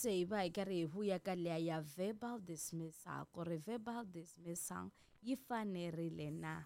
Se hi va hi karhi hi vuya ka liya ya verbal dismissal, ku ri verbal dismissal yi fanerile na?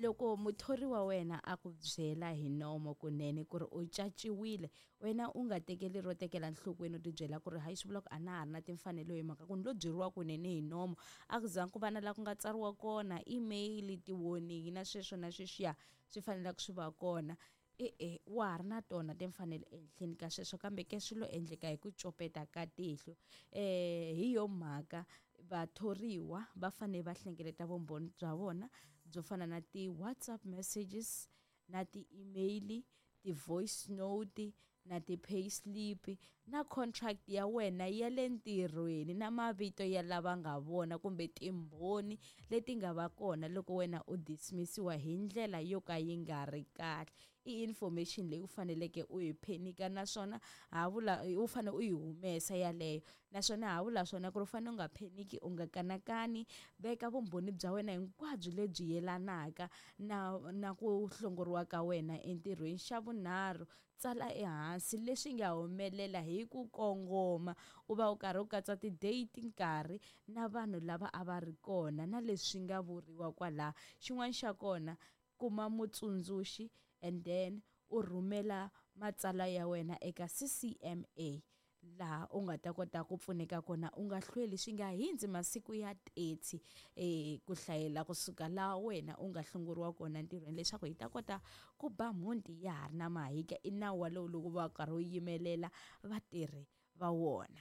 Loko muthori wa wena a ku byela hi nomo kunene ku ri u caciwile, wena u nga tekeli ro tekela nhlokweni, u tibyela ku ri hayi, swi vula ku a na ha ri na timfanelo hi mhaka ku ni lo byeriwa kunene hi nomo, a ku zanga ku va na laha ku nga tsariwa kona email, ti-warning na sweswo na sweswiya swi faneleke swi va kona. E-e, wa ha ri na tona timfanelo ehenhleni ka sweswo, kambe ke swi lo endleka hi ku copeta ka tihlo. Hi yo mhaka vathoriwa va fanele va hlengeleta vumbhoni bya vona byo fana na ti-WhatsApp messages na ti-email, ti-voice note na ti-pay slip na contract ya wena ya le ntirhweni na mavito ya lava nga vona kumbe timbhoni leti nga va kona loko wena u dismissiwa hi ndlela yo ka yi nga ri kahle. I information leyi u faneleke u yi phenika, naswona ha vula u fanele u yi humesa yaleyo, naswona ha vula swona ku ri u fanele u nga pheniki, u nga kanakani, veka vumbhoni bya wena hinkwabyo lebyi yelanaka na ku hlongoriwa ka wena entirhweni. Xa vunharhu, tsala ehansi leswi nga humelela hi ku kongoma, u va u karhi u katsa ti-date, nkarhi na vanhu lava a va ri kona na leswi nga vuriwa kwalaho. Xin'wana xa kona, kuma mutsundzuxi and then u rhumela matsalwa ya wena eka CCMA laha u nga ta kota ku pfuneka kona. U nga hlweli, swi nga hindzi masiku ya 30 ku hlayela kusuka laha wena u nga hlongoriwa kona ntirhweni, leswaku hi ta kota ku ba mhunti ya ha ri na mahika. I nawu walowu loko va karhi wu yimelela vatirhi va wona.